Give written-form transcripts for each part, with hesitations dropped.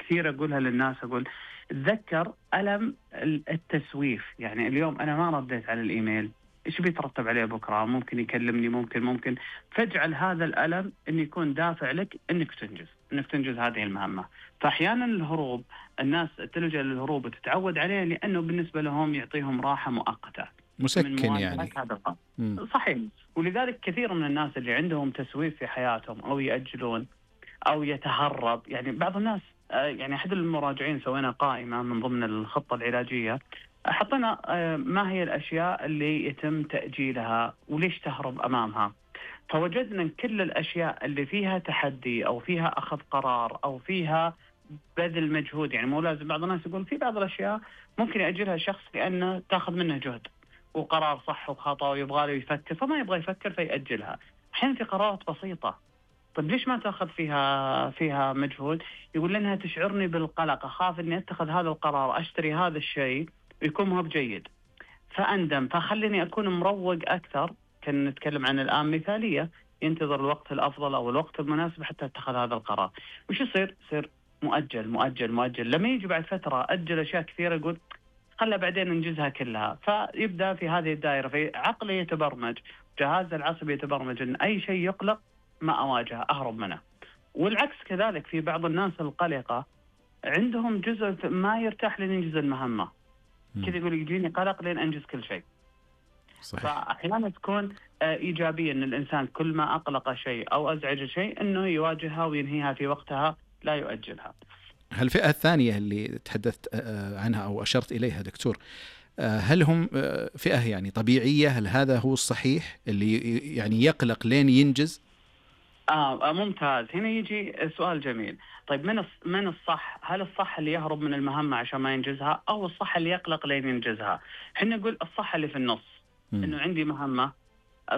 كثير أقولها للناس، أقول تذكر ألم التسويف. يعني اليوم أنا ما رديت على الإيميل، إيش بيترتب عليه بكرة؟ ممكن يكلمني، ممكن فاجعل هذا الألم إن يكون دافع لك إنك تنجز هذه المهمة. فأحيانا الهروب، الناس تلجأ للهروب وتتعود عليه لأنه بالنسبة لهم يعطيهم راحة مؤقتة مسكن يعني. هذا الأمر. صحيح. ولذلك كثير من الناس اللي عندهم تسويف في حياتهم أو يأجلون أو يتهرب، يعني بعض الناس يعني أحد المراجعين سوينا قائمة من ضمن الخطة العلاجية، حطينا ما هي الأشياء اللي يتم تأجيلها وليش تهرب أمامها. فوجدنا أن كل الأشياء اللي فيها تحدي أو فيها أخذ قرار أو فيها بذل مجهود، يعني مو لازم، بعض الناس يقول في بعض الأشياء ممكن يأجلها الشخص لأنه تأخذ منه جهد وقرار صح وخطأ ويبغى له يفكر فما يبغى يفكر فيأجلها. أحيانا في قرارات بسيطة، طيب ليش ما تأخذ فيها مجهود؟ يقول لأنها تشعرني بالقلق، أخاف أني أتخذ هذا القرار، أشتري هذا الشيء ويكون مو بجيد فأندم، فخليني أكون مروق أكثر. كنا نتكلم عن الآن مثالية، ينتظر الوقت الأفضل أو الوقت المناسب حتى اتخذ هذا القرار. وش يصير مؤجل. لما يجي بعد فترة أجل أشياء كثيرة، يقول خلى بعدين ننجزها كلها، فيبدأ في هذه الدائرة. في عقله يتبرمج، جهاز العصبي يتبرمج أن أي شيء يقلق ما أواجهه، أهرب منه. والعكس كذلك، في بعض الناس القلقة عندهم جزء ما يرتاح لننجز المهمة، كذا يقول يجيني قلق لين أنجز كل شيء. صحيح. فأحيانا تكون إيجابية أن الإنسان كل ما أقلق شيء أو أزعج شيء أنه يواجهها وينهيها في وقتها، لا يؤجلها. الفئة الثانية اللي تحدثت عنها أو أشرت إليها دكتور، هل هم فئة يعني طبيعية؟ هل هذا هو الصحيح اللي يعني يقلق لين ينجز؟ ممتاز. هنا يجي سؤال جميل. طيب من الصح؟ هل الصح اللي يهرب من المهمة عشان ما ينجزها، أو الصح اللي يقلق لين ينجزها؟ حنا نقول الصح اللي في النص. إنه عندي مهمة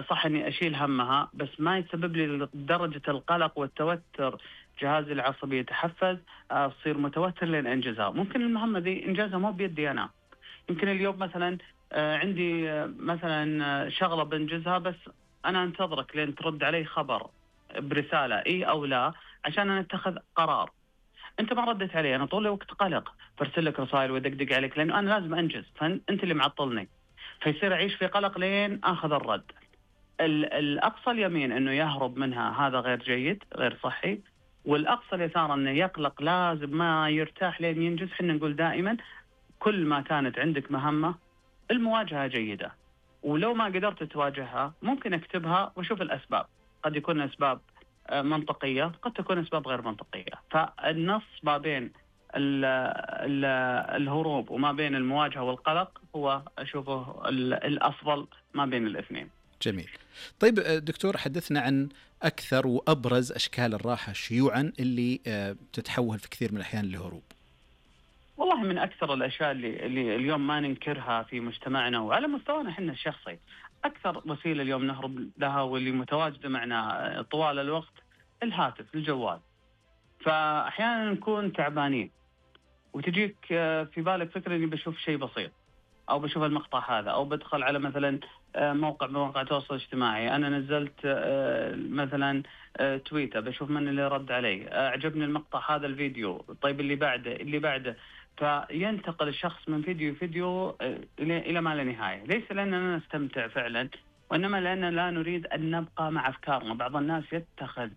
صح إني أشيل همها، بس ما يسبب لي درجة القلق والتوتر، جهازي العصبي يتحفز، أصير متوتر لين أنجزها. ممكن المهمة دي إنجازها مو بيدي أنا، يمكن اليوم مثلا عندي مثلا شغلة بنجزها، بس أنا أنتظرك لين ترد علي خبر برسالة إيه أو لا عشان أنا أتخذ قرار. أنت ما ردت علي، أنا طول الوقت قلق، برسل لك رسائل ودقدق عليك لأنه أنا لازم أنجز، فأنت اللي معطلني، فيصير أعيش في قلق لين أخذ الرد. الأقصى اليمين أنه يهرب منها، هذا غير جيد، غير صحي. والأقصى اليسار أنه يقلق، لازم ما يرتاح لين ينجز. حنا نقول دائما كل ما كانت عندك مهمة المواجهة جيدة، ولو ما قدرت تواجهها ممكن اكتبها وشوف الأسباب. قد يكون أسباب منطقية، قد تكون أسباب غير منطقية. فالنص ما بين الهروب وما بين المواجهة والقلق هو أشوفه الأفضل ما بين الاثنين. جميل. طيب دكتور، حدثنا عن أكثر وأبرز أشكال الراحة شيوعا اللي تتحول في كثير من الأحيان لهروب. والله من أكثر الأشياء اللي اليوم ما ننكرها في مجتمعنا وعلى مستوانا حنا الشخصي، أكثر وسيلة اليوم نهرب لها واللي متواجدة معنا طوال الوقت الهاتف، الجوال. فأحيانا نكون تعبانين وتجيك في بالك فكرة إني بشوف شيء بسيط أو بشوف المقطع هذا، أو بدخل على مثلا موقع مواقع التواصل الاجتماعي، أنا نزلت مثلا تويتر، بشوف من اللي رد علي، أعجبني المقطع هذا الفيديو، طيب اللي بعده. فينتقل الشخص من فيديو إلى ما لا نهاية، ليس لأننا نستمتع فعلا، وإنما لأننا لا نريد أن نبقى مع أفكارنا. بعض الناس يتخذ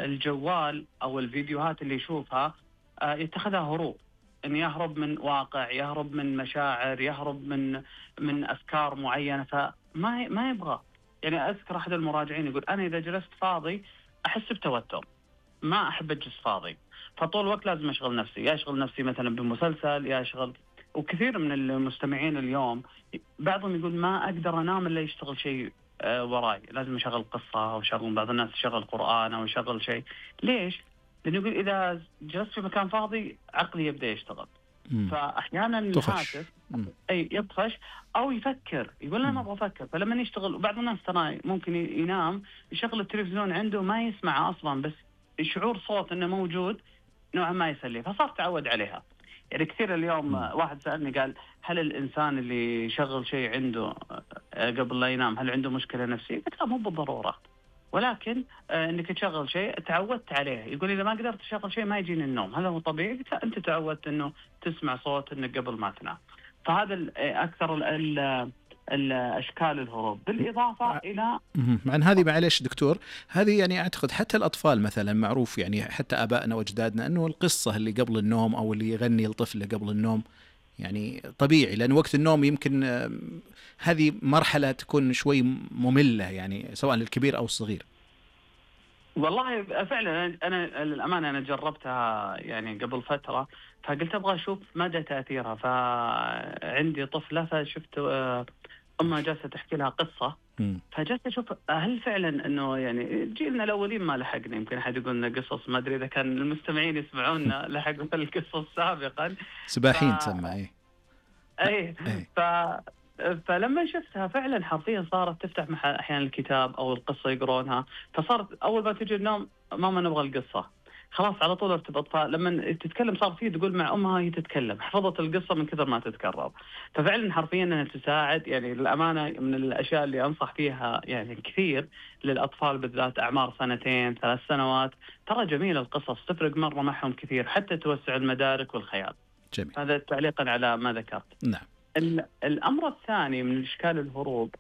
الجوال أو الفيديوهات اللي يشوفها يتخذها هروب، أن يهرب من واقع، يهرب من مشاعر، يهرب من أفكار معينة، فما يبغى. يعني أذكر أحد المراجعين يقول أنا إذا جلست فاضي أحس بتوتر، ما أحب أجلس فاضي، فطول الوقت لازم أشغل نفسي، يا أشغل نفسي مثلا بمسلسل، يا أشغل. وكثير من المستمعين اليوم بعضهم يقول ما أقدر أنام إلا يشتغل شيء وراي، لازم أشغل قصة أو شغل، بعض الناس يشغل قرآن أو يشغل شيء. ليش؟ لأنه يقول إذا جلست في مكان فاضي عقلي يبدأ يشتغل. فأحيانا الهاتف يطفش أو يفكر، يقول أنا ما أبغى أفكر، فلما يشتغل. بعض الناس ترى ممكن ينام يشغل التلفزيون عنده ما يسمعه أصلا، بس شعور صوت إنه موجود نوعا ما يسليه، فصار تعود عليها. يعني كثير اليوم واحد سألني قال هل الإنسان اللي يشغل شيء عنده قبل لا ينام هل عنده مشكلة نفسية؟ قلت لا، مو بالضرورة. ولكن انك تشغل شيء تعودت عليه. يقول اذا ما قدرت تشغل شيء ما يجيني النوم، هل هو طبيعي؟ قلت لا، انت تعودت انه تسمع صوت انك قبل ما تنام. فهذا اكثر الاشكال الهروب، بالاضافه الى عن هذه. معلش دكتور، هذه يعني اعتقد حتى الاطفال مثلا معروف، يعني حتى ابائنا واجدادنا، انه القصه اللي قبل النوم او اللي يغني الطفل قبل النوم يعني طبيعي، لان وقت النوم يمكن هذه مرحله تكون شوي ممله، يعني سواء للكبير او الصغير. والله فعلا انا للامانه انا جربتها يعني قبل فتره، فقلت ابغى اشوف مدى تاثيرها. فعندي طفله فشفت امها جالسه تحكي لها قصه، فجلست اشوف هل فعلا انه يعني جيلنا الاولين ما لحقنا. يمكن احد يقول لنا قصص، ما ادري اذا كان المستمعين يسمعونا لحقوا القصص سابقا. سباحين تسمى اي ف... فلما شفتها فعلا حرفيا صارت تفتح احيانا الكتاب او القصه يقرونها، فصارت اول ما تجي النوم ماما نبغى القصه، خلاص على طول ارتبط. فلما تتكلم صار فيه تقول مع امها هي تتكلم، حفظت القصه من كثر ما تتكرر. ففعلا حرفيا انها تساعد. يعني للامانه من الاشياء اللي انصح فيها يعني كثير للاطفال بالذات اعمار 2 3 سنوات، ترى جميل القصص تفرق مره معهم كثير، حتى توسع المدارك والخيال. جميل. هذا تعليقا على ما ذكرت. نعم. الأمر الثاني من أشكال الهروب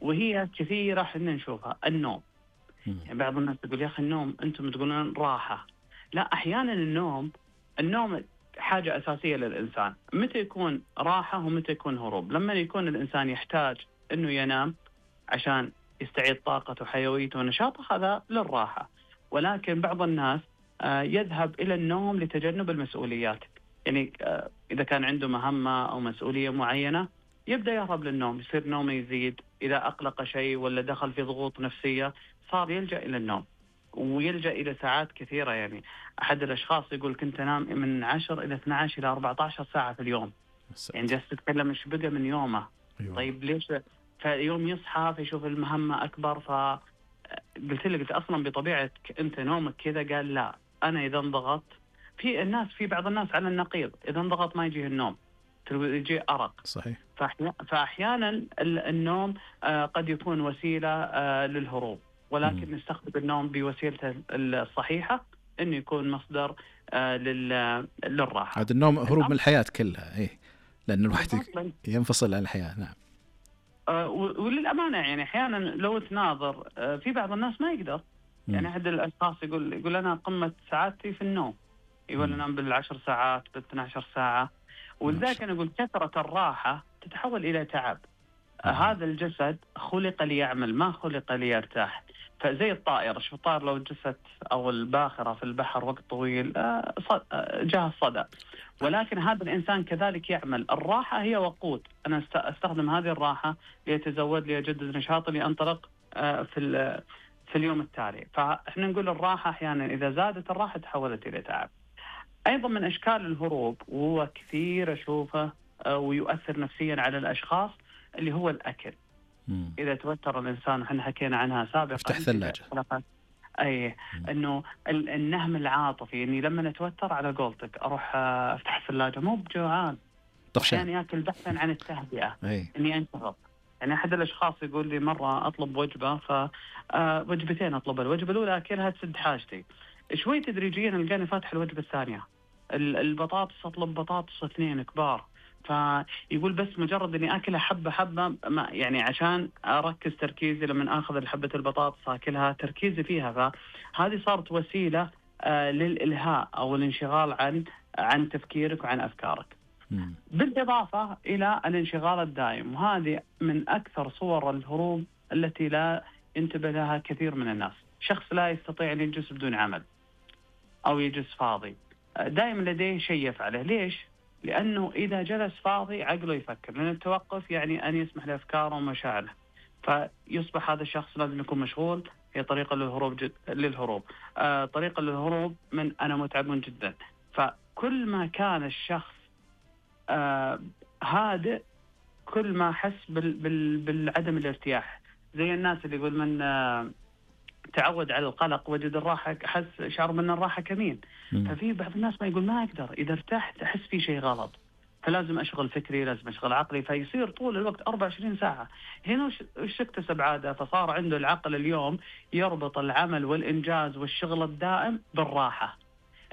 وهي كثيرة حنا نشوفها، النوم. يعني بعض الناس تقول يا أخي النوم أنتم تقولون راحة، لا، أحيانا النوم حاجة أساسية للإنسان. متى يكون راحة ومتى يكون هروب؟ لما يكون الإنسان يحتاج أنه ينام عشان يستعيد طاقته وحيويته ونشاطه، هذا للراحة. ولكن بعض الناس يذهب إلى النوم لتجنب المسؤوليات. يعني إذا كان عنده مهمة أو مسؤولية معينة يبدأ يهرب للنوم، يصير نومه يزيد. إذا أقلق شيء ولا دخل في ضغوط نفسية صار يلجأ إلى النوم، ويلجأ إلى ساعات كثيرة. يعني أحد الأشخاص يقول كنت أنام من 10 إلى 12 إلى 14 ساعة في اليوم. يعني جالس تتكلم إيش بقى من يومه. طيب ليش؟ فيوم يصحى فيشوف المهمة أكبر. فقلت له، قلت أصلا بطبيعتك أنت نومك كذا؟ قال لا، أنا إذا انضغط في بعض الناس على النقيض، إذا انضغط ما يجيه النوم، يجي أرق. صحيح. فأحيانا النوم قد يكون وسيلة للهروب، ولكن نستخدم النوم بوسيلته الصحيحة إنه يكون مصدر للراحة. هذا النوم هروب من الحياة كلها، لأن الواحد ينفصل عن الحياة. نعم. وللأمانة يعني أحيانا لو تناظر في بعض الناس ما يقدر. يعني أحد الأشخاص يقول أنا قمة سعادتي في النوم، يقول أنام بال10 ساعات بال12 ساعة. ولذلك أنا أقول كثرة الراحة تتحول إلى تعب. هذا الجسد خلق ليعمل، ما خلق ليرتاح. فزي الطائر، شوف الطائر لو جست أو الباخرة في البحر وقت طويل جاء الصدى. ولكن هذا الإنسان كذلك يعمل. الراحة هي وقود، أنا أستخدم هذه الراحة ليتزود، ليجدد نشاطي، لأنطلق في اليوم التالي. فإحنا نقول الراحة أحيانا إذا زادت الراحة تحولت إلى تعب. أيضا من أشكال الهروب وهو كثير أشوفه ويؤثر نفسيا على الأشخاص اللي هو الأكل. إذا توتر الإنسان، وحنا حكينا عنها سابقا، افتح ثلاجة. إنه النهم العاطفي، إني لما نتوتر على قولتك أروح أفتح الثلاجة، مو بجوعان، طفشان، يعني أكل بحثا عن التهدئة، إني أنشغل. يعني أحد الأشخاص يقول لي مرة أطلب وجبة، فوجبتين أطلب، الوجبة الأولى أكلها تسد حاجتي، شوي تدريجيا القاني فاتح الوجبة الثانية، البطاطس أطلب بطاطس 2 كبار. فيقول بس مجرد إني أكلها حبة حبة، يعني عشان أركز تركيزي لما أخذ الحبة البطاطس أكلها تركيزي فيها. فهذه صارت وسيلة للإلهاء أو الانشغال عن تفكيرك وعن أفكارك. بالإضافة إلى الانشغال الدائم، وهذه من أكثر صور الهروب التي لا ينتبه لها كثير من الناس. شخص لا يستطيع أن يجلس بدون عمل أو يجلس فاضي، دائما لديه شيء يفعله. ليش؟ لأنه إذا جلس فاضي عقله يفكر، لأن التوقف يعني أن يسمح لأفكاره ومشاعره، فيصبح هذا الشخص لازم يكون مشغول. هي طريقة للهروب. طريقة للهروب من أنا متعب جدا. فكل ما كان الشخص هادئ، كل ما حس بالعدم الارتياح. زي الناس اللي يقول من تعود على القلق وجد الراحة، شعر من الراحة كمين. ففي بعض الناس ما يقول ما أقدر، إذا ارتحت أحس في شيء غلط. فلازم أشغل فكري، لازم أشغل عقلي، فيصير طول الوقت 24 ساعة. هنا وش اكتسب عادة؟ فصار عنده العقل اليوم يربط العمل والإنجاز والشغل الدائم بالراحة.